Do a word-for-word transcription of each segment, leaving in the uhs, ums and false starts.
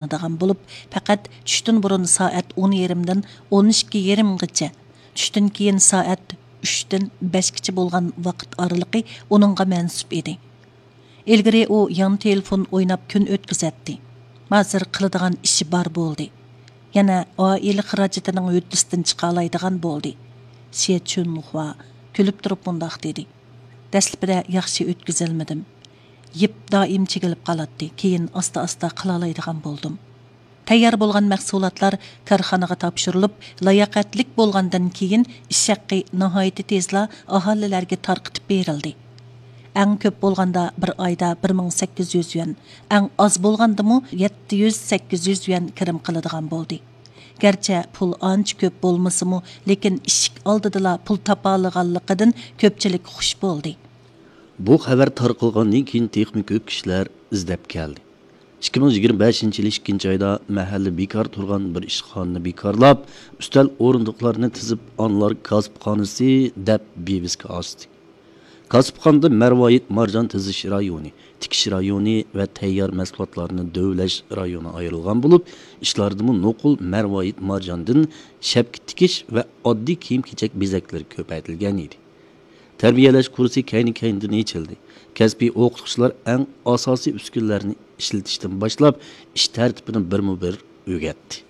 ئاڭلىنىدىغان بولۇپ، پەقەت چۈشتىن بۇرۇن سائەت ئون يېرىمدىن ئون ئىككى يېرىمغىچە، چۈشتىن كېيىن سائەت ئۈچتىن بەشكىچە بولغان ۋاقىت ئارىلىقى ئۇنىڭغا مەنسۇپ ئىدى. ئىلگىرى ئۇ يان تېلېفون ئويناپ كۈن ئۆتكۈزەتتى. ھازىر قىلىدىغان ئىشى بار بولدى. يەنە ئائىلە خىراجىتىنىڭ ھۆددىسىدىن چىقالايدىغان بولدى. شيې چۈنخۇا كۈلۈپ تۇرۇپ مۇنداق دېدى: دەسلىپىدە ياخشى ئۆتكۈزەلمىدىم. يىپ دائىم چېكىلىپ قالاتتى، كېيىن ئاستا-ئاستا قىلالايدىغان بولدۇم. تەييار بولغان مەھسۇلاتلار كارخانىغا تاپشۇرۇلۇپ، لاياقەتلىك بولغاندىن كېيىن، ئىش ھەققى ناھايىتى تېزلا ئاھالىلەرگە تارقىتىپ بېرىلدى. ئەڭ كۆپ بولغاندا بىر ئايدا بىر مىڭ سەككىز يۈز يۈەن، ئەڭ ئاز بولغاندىمۇ يەتتە يۈز، سەككىز يۈز يۈەن كىرىم قىلىدىغان بولدى. گەرچە پۇل ئانچە كۆپ بولمىسىمۇ، لېكىن ئىشىك ئالدىدىلا پۇل تاپالىغانلىقىدىن كۆپچىلىك خۇش بولدى. بۇ خەۋەر تارقالغاندىن كېيىن تېخىمۇ كۆپ كىشىلەر ئىزدەپ كەلدى. ئىككى مىڭ يىگىرمە بەشىنچى يىل ئىككىنچى ئايدا مەھەللە بىكار تۇرغان بىر ئىشخانىنى بىكارلاپ، ئۈستەل ئورۇندۇقلارنى تىزىپ، ئانىلار كاسىپخانىسى دەپ ۋىۋىسكا ئاچتى. كاسىپخانىدا مەرۋايىت مارجان تىزىش رايونى، تىكىش رايونى ۋە تەييار مەھسۇلاتلارنى دۆۋىلەش رايونى ئايرىلغان بولۇپ، ئىشلاردىمۇ نوقۇل مەرۋايىت مارجاندىن شەپكە تىكىش ۋە ئاددىي كىيىم-كېچەك بېزەكلىرى كۆپەيتىلگەن ئىدى. تەربىيەلەش كۇرسى كەينى-كەينىدىن ئېچىلدى. كەسپىي ئوقۇتقۇچىلار ئەڭ ئاساسىي ئۈسكۈنىلەرنى ئىشلىتىشتىن باشلاپ، ئىش تەرتىپىنى بىرمۇ بىر ئۆگەتتى.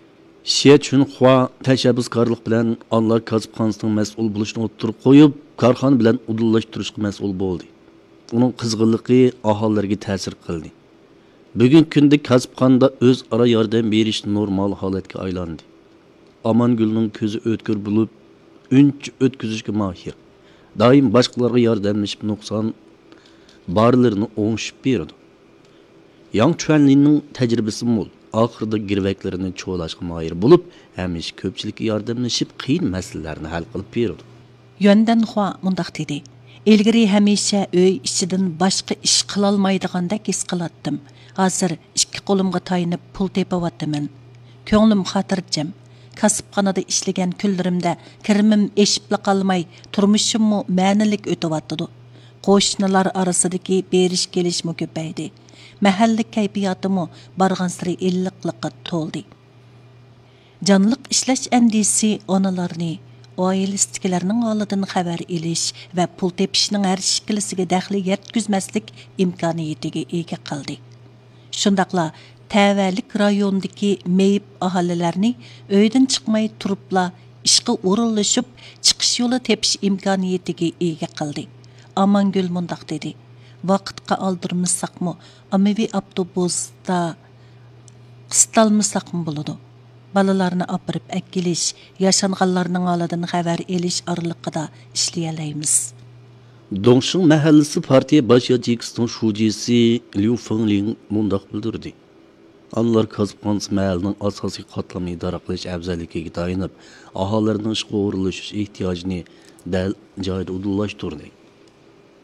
شيې چۈنخۇا تەشەببۇسكارلىق بىلەن ئانىلار كاسىپخانىسىنىڭ مەسئۇل بولۇشىنى ئوتتۇرىغا قويۇپ، كارخانا بىلەن ئۇدۇللاشتۇرۇشقا مەسئۇل بولدى. ئۇنىڭ قىزغىنلىقى ئاھالىلەرگە تەسىر قىلدى. بۈگۈنكى كۈندە كاسىپخانىدا ئۆزئارا ياردەم بېرىش نورمال ھالەتكە ئايلاندى. ئامانگۈلنىڭ كۆزى ئۆتكۈر بولۇپ، ئۈنچە ئۆتكۈزۈشكە ماھىر. دائىم باشقىلارغا ياردەملىشىپ، نۇقسان بارلىرىنى ئوڭشىتىپ بېرىدۇ. ياڭ چۈەنلىننىڭ تەجرىبىسى مول. ئاخىرىدا گىرۋەكلىرىنى چولاشقا ماھىر بولۇپ، ھەمىشە كۆپچىلىككە ياردەملىشىپ، قىيىن مەسىلىلەرنى ھەل قىلىپ بېرىدۇ. يۈەندەنخۇا مۇنداق دېدى: ئىلگىرى ھەمىشە ئۆي ئىچىدىن باشقا ئىش قىلالمايدىغاندەك ھېس قىلاتتىم. ھازىر ئىككى قولۇمغا تايىنىپ پۇل تېپىۋاتىمەن. كۆڭلۈم خاتىرجەم. كاسىپخانىدا ئىشلىگەن كۈنلىرىمدە كىرىمىم ئېشىپلا قالماي، تۇرمۇشۇممۇ مەنىلىك ئۆتۈۋاتىدۇ. قوشنىلار ئارىسىدىكى بېرىش-كېلىشمۇ كۆپەيدى. مەھەللە كەيپىياتىمۇ بارغانسېرى ئىللىقلىققا تولدى. جانلىق ئىشلەش ئەندىزىسى ئانىلارنى ئائىلىسىدىكىلەرنىڭ ھالىدىن خەۋەر ئېلىش ۋە پۇل تېپىشنىڭ ھەر شەكىللىسىگە دەخلى يەتكۈزمەسلىك ئىمكانىيىتىگە ئىگە قىلدى. شۇنداقلا تەۋەلىك رايوندىكى مېيىپ ئاھالىلەرنى ئۆيدىن چىقماي تۇرۇپلا ئىشقا ئورۇنلىشىپ، چىقىش يولى تېپىش ئىمكانىيىتىگە ئىگە قىلدى. ئامانگۈل مۇنداق دېدى: ۋاقىتقا ئالدۇرمىساقمۇ، ئاممىۋى ئاپتوبۇستا قىستالمىساقمۇ بولىدۇ. بالىلارنى ئاپىرىپ ئەكېلىش، ياشانغانلارنىڭ ھالىدىن خەۋەر ئېلىش ئارىلىقىدا ئىشلىيەلەيمىز. دۇڭشىڭ مەھەللىسى پارتىيە باش ياچېيكىسىنىڭ شۇجىسى ليۇ فېڭلىڭ مۇنداق بىلدۈردى: ئانىلار كاسىپخانىسى مەھەللىنىڭ ئاساسىي قاتلامنى ئىدارە قىلىش ئەۋزەللىكىگە تايىنىپ، ئاھالىلەرنىڭ ئىشقا ئورۇنلىشىش ئېھتىياجىنى دەل جايىدا ئۇدۇللاشتۇردى.